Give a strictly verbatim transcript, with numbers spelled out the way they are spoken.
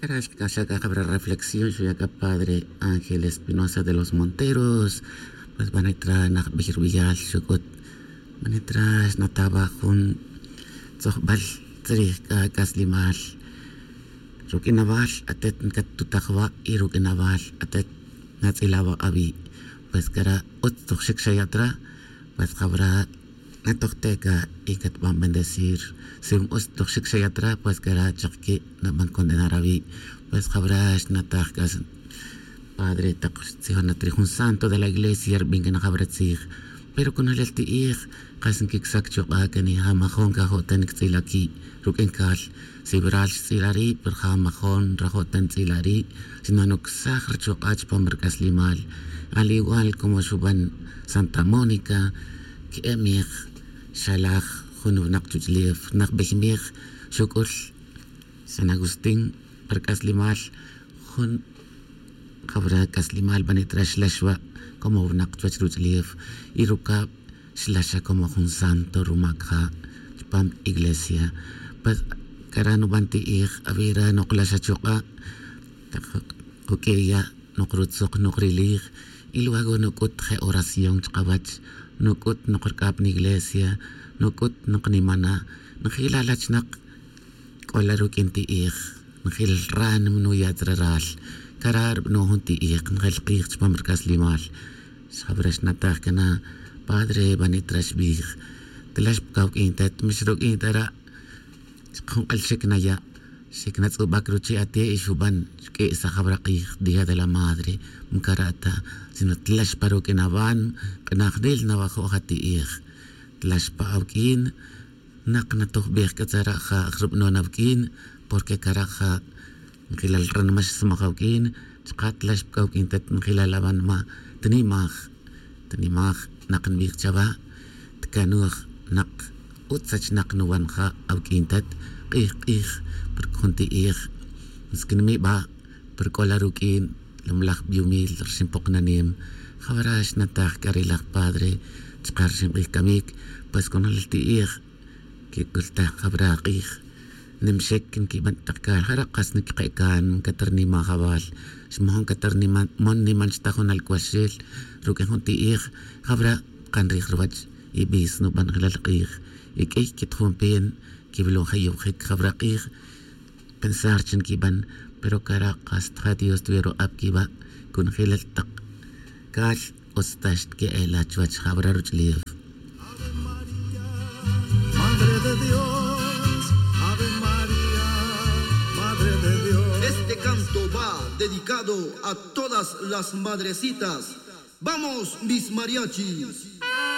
Cara xkac'a' c'a jabra reflexión xuya' c'a padre Ángel Espinosa de los Monteros. Pues banitra najbey rubeyal xuc'ut, banitra xnataba jun tzojbal tzrij c'a c'aslimal. Ruq'uinabal atet ncatutaj wa' y ruq'uinabal atet natz'ila wa' awi'. Pues cara utz toj xic xaya' tra, pues jabra natoj teca y catban bendecir. Si utz toj xic xaya' tra, pues cara chak que naban condenar awi'. Pues jabra xnataj c'a padre tak xtzijon na tri jun santo de la iglesia rbin cana jabra tzij. Pero conojlel ti'ij, kas nquic'sac chuk'a' cani ja majon cajo' ta nictz'ila qui' ruq'uin cal. Si waral xtz'ila ri' pero ja majon rajo' ta nitz'ila ri', sino nucsaj ruchuk'a' chupam rc'aslimal. Al igual como xuban santa mónica, que'e mij xalaj jun winak chuch'lef najbey mij xuc'ul san agustín pa rc'aslimal. Jun jawra c'aslimal banitra xlax wa' como winak chuwech ruch'lef y rucab xlaxa como jun santo rumac ja' chupam iglesia. Pues cara nuban ti'ij awira' nokla xa chuk'a' tak juq'ueya' nok rutzuk nok rilij. Y luego nuc'ut je' oración chkawech, nuc'ut nok rc'ab niglesia, nuc'ut nok nimana'. Njila' lachnak c'ola ruq'uin ti'ij, njil ránimo nuya' tzre ral. Cara' rbano' jun ti'ij njel kij chupam rc'aslimal. Xjawra xnataj cana padre banitra xbij, tlax pa cawq'uin tet mix ruq'uin tara'. Chik jun k'el xic naya', xic natz'ubac ruchi' ate' y xuban xq'ui'saj jawra kij día de la madre. Mcara' ta sino tlax pa ruq'uin awan, k'najnil nawajo' ja ti'ij. Tlax pa awq'uin, nak natojbej c'a tzara' ja' rbano' nawq'uin. Porque cara' ja' njilal ranma xsmaj awq'uin. Chka' tlax pa cawq'uin tet njilal awanma, tnimaj, tnimaj nak nbij chawa'. Tcanuj nak utz sachnak nuwan ja' awq'uin tet k'ij k'ij. Porque jun ti'ij nsquinmiba' pero c'ola ruq'uin lomlaj biumil rxin poknanem. Jawra xnataj c'a ri laj padre chka' rxin k'ij camic. Pues conojlel ti'ij quic'ultaj jawra k'ij. Nimxic nquiban tak cal jara' kas nquiqe' can catarnimaj awal. Xmojon catarniman mon niman xta jun alcuaxel ruq'uin jun ti'ij. Jawra kan rij ruwech y bis nuban jelal k'ij y q'uiy quitjun pen quiwilon je' yowjic jawra k'ij. Pensar chi nquiban pero cara' kas tja dios tuya ru'ab quiwa' conjelal tak cal. Utz ta xtque'ela chuwech jawra ruch'lef. Madre de Dios, Ave María, Madre de Dios. Este canto va dedicado a todas las madrecitas. Vamos, mis mariachis.